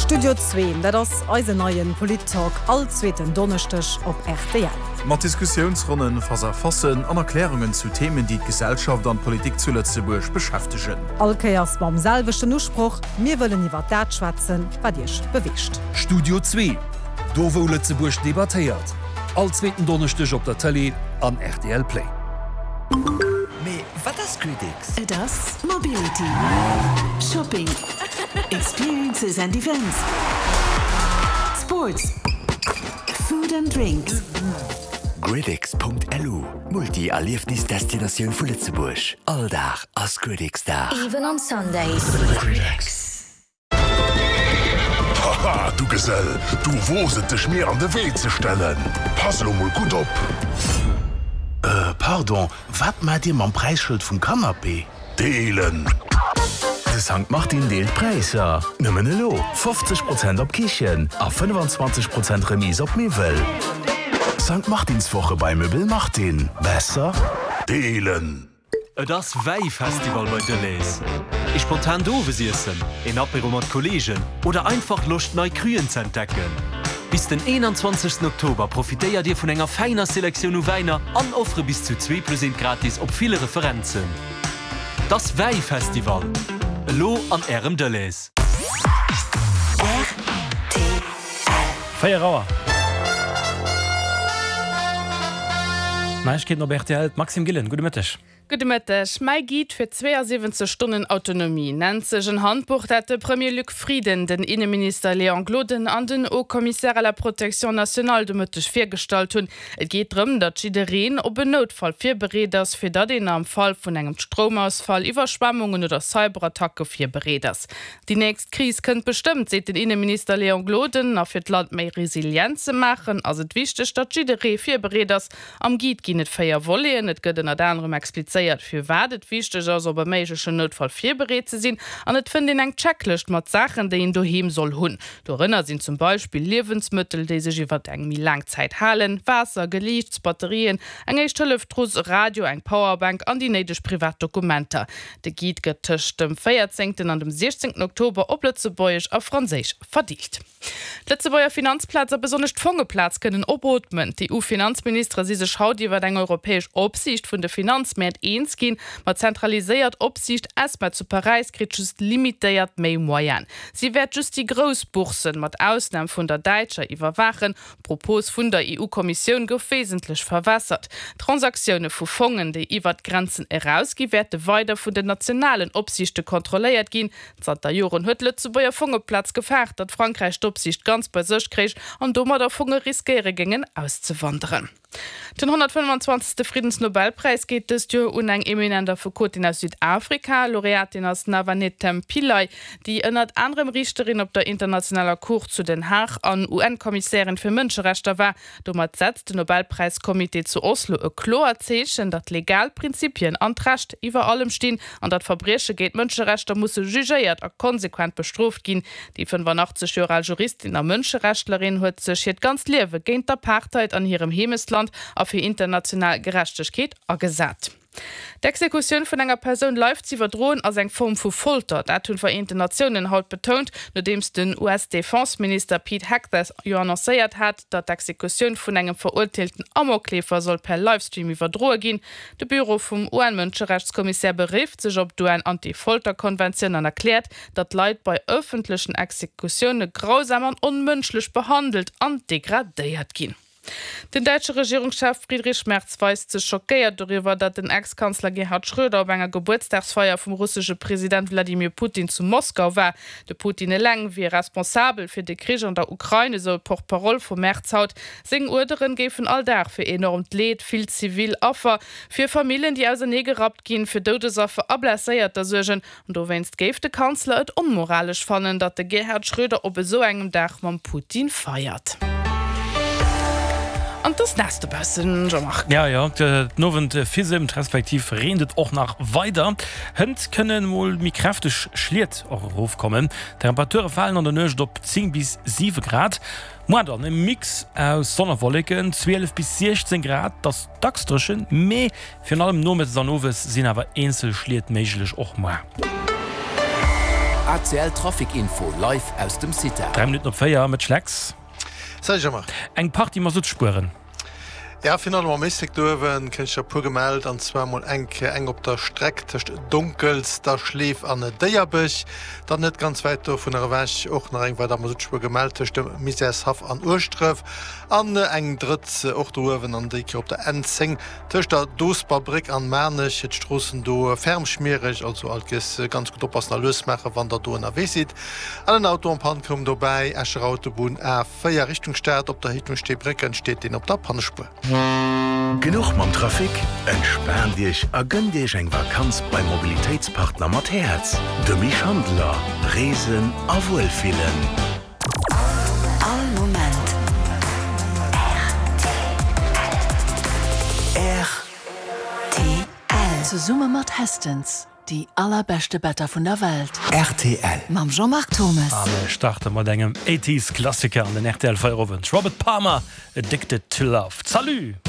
Studio Zwee, dat ass eisen neien Polit-Talk all zweeten Donneschdeg op rtl. Mat Diskussiounsronnen, Face-à-facen an Erklärungen zu Themen, déi d'Gesellschaft an d'Politik zu Lëtzebuerg beschäftegen. All Kéiers mam selwechten Usproch, Mir wëllen iwwer dat schwätzen, wat Iech beweegt. Studio Zwee, do wou Lëtzebuerg debattéiert. All zweeten Donneschdeg op der Tëlee an rtl Play. Mee wat ass GridX? Et ass Mobility, Shopping, Experiences and Events, Sports, Food and Drinks. GridX.lu, Multi-Erliefnis-Destinatioun vu Lëtzebuerg. All Dag ass GridX-Dag. Even on Sundays. GridX. Haha, du Gesell, du woos et dech mir an de Wee ze stellen. Pass elo mol gutt op! Äh, pardon, wat maacht dir mam Präisschëld vum Canapé? Deelen! De Sankt Martin deelt Präisser! Nëmmen elo 50 Prozent op Kichen a 25 Prozent Remise op Miwwel. Sankt Martinswoche bei Möbel Martin. Besser? Deelen! Et ass Wäifestival bei Delhaize. Ee spontant Owesiessen, een Apéro mat Kolleegen oder einfach Loscht nei Cruen ze entdecken? Bis den 21 Oktober profitéiert Dir vun enger fäiner Selektioun u Wäiner an Offere bis zu zwee plus eent gratis op ville Referenzen. Et ass Wäifestival! Elo an Ärem Delhaize. Rtl. 4 Auer. Neiegkeeten op rtl, d'Maxime Gillen, gudde Mëtteg. Gudde Mëtteg. Mäi Guide fir 72 Stonnen Autonomie nennt sech en Handbuch, dat de Premier Luc Frieden, den Inneminister Léon Gloden an den Haut Commissaire à la protection nationale de Mëtteg virgestallt hunn. Et geet drëm, datt jiddereen op en Noutfall virbereet ass, fir datt een am Fall vun engem Stroumausfall, Iwwerschwemmungen oder Cyberattacke virbereet ass. Déi nächst Kris kënnt bestëmmt, seet den Inneminister Léon Gloden. A fir d'Land méi resilient ze maachen, ass et wichteg, datt jidderee virbereet ass. Am Guide ginn et 4 Voleten. Et gëtt ënnert anerem explizéiert, firwat et wichteg ass, op e méiglechen Noutfall virbereet ze sinn. An et fënnt een eng Checklëscht mat Saachen, déi een doheem soll hunn. Dorënner sinn zum Beispill Liewensmëttel, déi sech iwwer eng méi laang Zäit halen, Waasser, Geliichts, Batterien, eng Éischt-Hëllef-Trouss, e Radio, eng Powerbank an déi néideg privat Dokumenter. De Guide gëtt tëscht dem 14 an dem 16 Oktober op Lëtzebuergesch a Franséisch verdeelt. D'Lëtzebuerger Finanzplaz a besonnesch d'Fongeplaz kënnen opootmen. D'EU-Finanzministere si sech haut iwwer eng europäesch Opsiicht vun de Finanzmäert eens ginn. Ma d'zentraliséiert Opsiicht ESMA zu Paräis kritt just limitéiert méi Moyenen. Si wäert just déi grouss Bourssen, mat Ausnam vun der däitscher, iwwerwaachen. D'Propos vun der EU-Kommissioun gouf wesentlech verwässert. Transaktioune vu Fongen, déi iwwert d'Grenzen erausgi wäerte weider vun den nationalen Opsiichte kontrolléiert ginn. Zanter Joren huet d'Lëtzebuerger Fongeplaz gefaart, datt Frankräich d'Opsiicht ganz bei sech kréich an domadder Fonge riskéiere géingen auszewanderen. Den 125. Friddensnobelpräis geet dëst Joer un eng eminent Affekotin aus Südafrika. Laureatin ass Navanethem Pillay, déi ënnert anerem Riichterin op der internationaler Cour zu Den Haag an UN-Kommissärin fir Mënscherechter war. Domat setzt den Nobelpräiscomité zu Oslo e kloert Zeechen, datt legal Prinzipien an d'Recht iwwer allem stinn an datt Verbrieche géint d'Mënscherechter musse jugéiert a konsequent bestrooft ginn. Déi 85 Joer al Juristin a Mënscherechtlerin huet sech hiert ganzt Liewe géint d'Apartheid an hirem Heemechtsland a fir international Gerechtegkeet agesat. D'Exekutioun vun enger Persoun live z'iwwerdroen ass eng Form vu Folter. Dat hunn d'Vereenten Natiounen haut betount, nodeems den US-Defense-Minister Pete Hegseth jo annoncéiert hat, datt d'Exekutioun vun engem verurteelten Amokleefer soll per Livestream iwwerdroe ginn. De Büro vum UN-Mënscherechtskommissär berifft sech op d'UN-Anti-Folter-Konventioun an erkläert, datt Leit bei ëffentlechen Exekutioune grausam an onmënschlech behandelt an degradéiert ginn. Den däitsche Regierungschef Friedrich Merz weist sech schockéiert doriwwer, datt den Ex-Kanzler Gerhard Schröder op enger Gebuertsdagsfeier vum russesche President Wladimir Putin zu Moskau war. De Putin eleng wier responsabel fir de Krich an der Ukrain, esou d'Porte-parole vum Merz haut. Seng Uerderen géifen all Dag fir enormt Leed, vill zivil Affer, fir Famillen, déi ausernee gerappt ginn, fir Doudesaffer a Blesséierter suergen. An dowéinst géif de Kanzler et onmoralesch fannen, datt de Gerhard Schröder op esou engem Dag mam Putin feiert. An 't ass naass dobaussen, Jean-Marc. Jo, jo, den Owend fisemt respektiv reent et och nach weider. Hënt kënne mol méi kräfteg Schliet och erofkommen. D'Temperature falen an der Nuecht op 10 bis 7 Grad. Moar dann e Mix aus Sonn a Wolleken, 12 bis 16 Grad. 't ass dacks dréchen, mee Virun allem nomëttes an owes sinn awer eenzel Schliet méiglech, och muar. ACL Trafic Info live aus dem CITA. 3 Minutten op 4, Mëtsch Lex. Salut Jean-Marc. Eng Partie Masuttspueren. Ja, virun allem am Éislek do uewen kréien ech der e puer gemellt, an zwar mol eng Kéier eng op der Streck tëscht Donkelsterschleef an Déierbech, dann net ganz wäit dovunner ewech och nach eng weider Masuttspuer gemellt tëscht dem Misärshaff an Ueschdref an eng drëtt och do uewen an déi Kéier op der N10 Tëscht der Doosber Bréck an Maarnech, d'Stroossen do ferm schmiereg, also alt giess ganz gutt oppassen a lues maachen wann der do ënnerwee sidd. An en Auto en panne koum dobäi, Escher Autobunn A4 Richtung Stad, op der Héicht vum Steebrécken steet deen op der Pannespuer. Genuch mam Trafic? Entspaant Iech a gënnt Iech eng Vakanz beim Mobilitéitspartner mat Häerz, de Mich Handeler. Reesen a Wuelfillen. All Moment rtl. Zesumme mat Hästens, déi allerbeschte Better vun der Welt. Rtl. Mam Jean-Marc Thomes. A mir starte mat engem Eighties Klassiker an den rtl Feierowend, Robert Palmer, Addicted to Love. Salut!